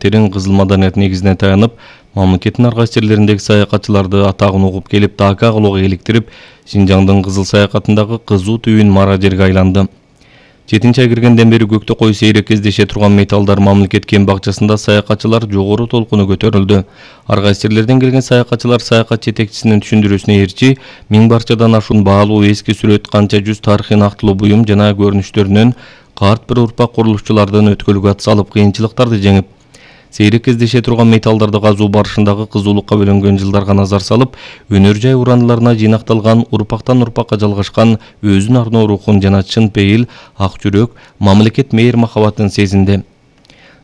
терең кызыл маданият негизине таянып, мамлекеттин ар кайсы жерлериндеги саякатчыларды атагын угуп келип дака кылууга иликтирип, Шинжаңдын кызыл саякатындагы кызуу түйүн мара жерге айланды. 7-ай киргенден бери көктө кой сейрек кездеше турган металлдар мамлекет кен бакчасында саякатчылар жогору толкуну көтөрүлдү. Ар кайсы жерлерден келген саякатчылар саякат жетекчисинин түшүндүрүүсүнө ээрчи 1000 барчадан ашуун баалуу эски сүрөт, канча жүз тарыхый нактылуу буюм жана көрүнүштөрүнөн карт бир урпак курулушчулардан өткөлгө ат салып кыйынчылыктарды жеңип, сейрек кездеше турган металлдарды казуу барышындагы кызуулукка бөлөнгөн жылдарга назар салып, өнөр жай урандыларына жыйнакталган урпактан урпакка жалгашкан өзүн арноо рухун жана чын пейил, ак жүрөк, мамлекет мээр махабатын сезинди.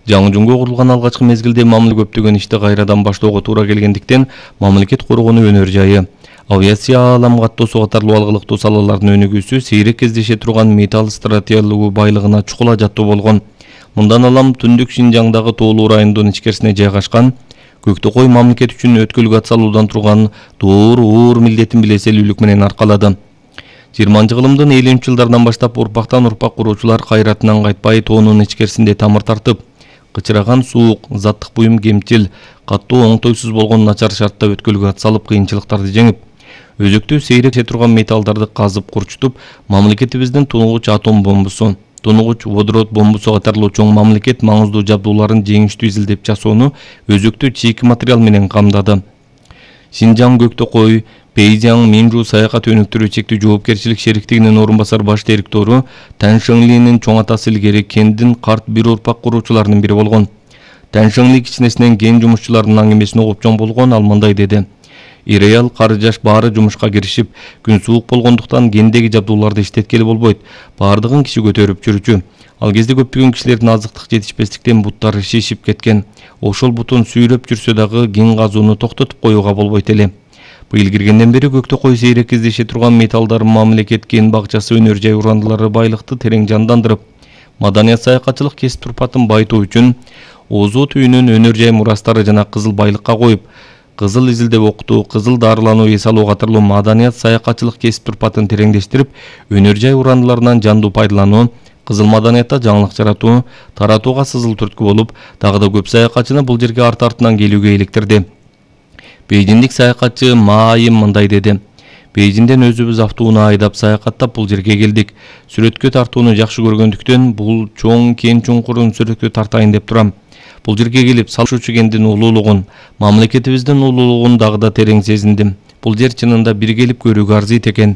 Жаңы-жунго курулган алгачкы мезгилде мамлекет көптөгөн ишти кайрадан баштоого туура келгендиктен, мамлекет коргонуу өнөр жайы, авиация, аалам каттоосу катарлуу алгылыктуу салалардын өнүгүүсү сейрек кездеше турган металл стратегиялык байлыгына чукула жаттуу болгон. Мындан алам түндүк Шинжаңдагы тоолуу райондун ичкерисине жайгашкан, көктө кой мамлекет үчүн өткөлгө ат салуудан турган уур милдетин билеселүүлүк менен аркалады. 20-жылымдын 50-жылдарынан баштап урпактан урпак куруучулар кайратынан кайтпай тоонун ичкерисинде тамыр тартып, кычыраган суук, заттык буюм кемчил, каттуу оңтойсуз болгон начар шартта өткөлгө ат салып кыйынчылыктарды жеңип, өзөктүү сейрек турган металлдарды казып курчутуп, мамлекетибиздин тунугуч атом бомбусу, тунугуч водород бомбусу катарлуу чоң мамлекет маңыздуу жабдууларын жеңиштүү изилдеп жасоону өзөктүү чийки материал менен камдады. Шинжаң көктө кой, Пейзяң Минжу саякат өнүктүрүү чектүү жоопкерчилик шериктигинин орун басар баш директору Тан Шыңлинин чоң атасы илгери кендин карт бир урпак куруучуларынын бири болгон. Тан Шыңли кичинесинен кен жумушчуларынын аңгемесине угуп чоң болгон, ал мындай деди: Ир-аял, кары жаш баары жумушка киришип, күн суук болгондуктан кендеги жабдууларды иштеткели болбойт. Баардыгын киши көтөрүп жүрчү. Ал кезде көптөгөн кишилердин азыктык жетишпестиктен буттары шишип кеткен. Ошол бутун сүйрөп жүрсө дагы кен казууну токтотуп коюуга болбойт эле. Быйыл киргенден бери көктө кой сейрек кездеше турган металлдар мамлекет кен бакчасы өнөр жай урандылары байлыкты терең жандандырып, маданият саякатчылык кесип турпатын байтоо үчүн озоо түйүнүн өнөр жай мурастары жана кызыл байлыкка коюп, кызыл изилдеп окутуу, кызыл дарылануу эс алуу катарлуу маданият саякатчылык кесип турпатын тереңдештирип, өнөр жай урандыларынан жандуу пайдалануу, кызыл маданиятта жаңылык жаратуу, таратууга сызыл түрткү болуп, дагы да көп саякатчыны бул жерге арты-артынан келүүгө иликтирди. Бейжиндик саякатчы Ма Айым мындай деди: Бейжинден өзүбүз автууна айдап саякаттап бул жерге келдик. Сүрөткө тартууну жакшы көргөндүктөн бул чоң кен чуңкурун сүрөткө тартайын деп турам. Бул жерге келип салышуучу кендин улуулугун, мамлекетибиздин улуулугун дагы да терең сезиндим. Бул жер чынында бир келип көрүүгө арзыйт экен.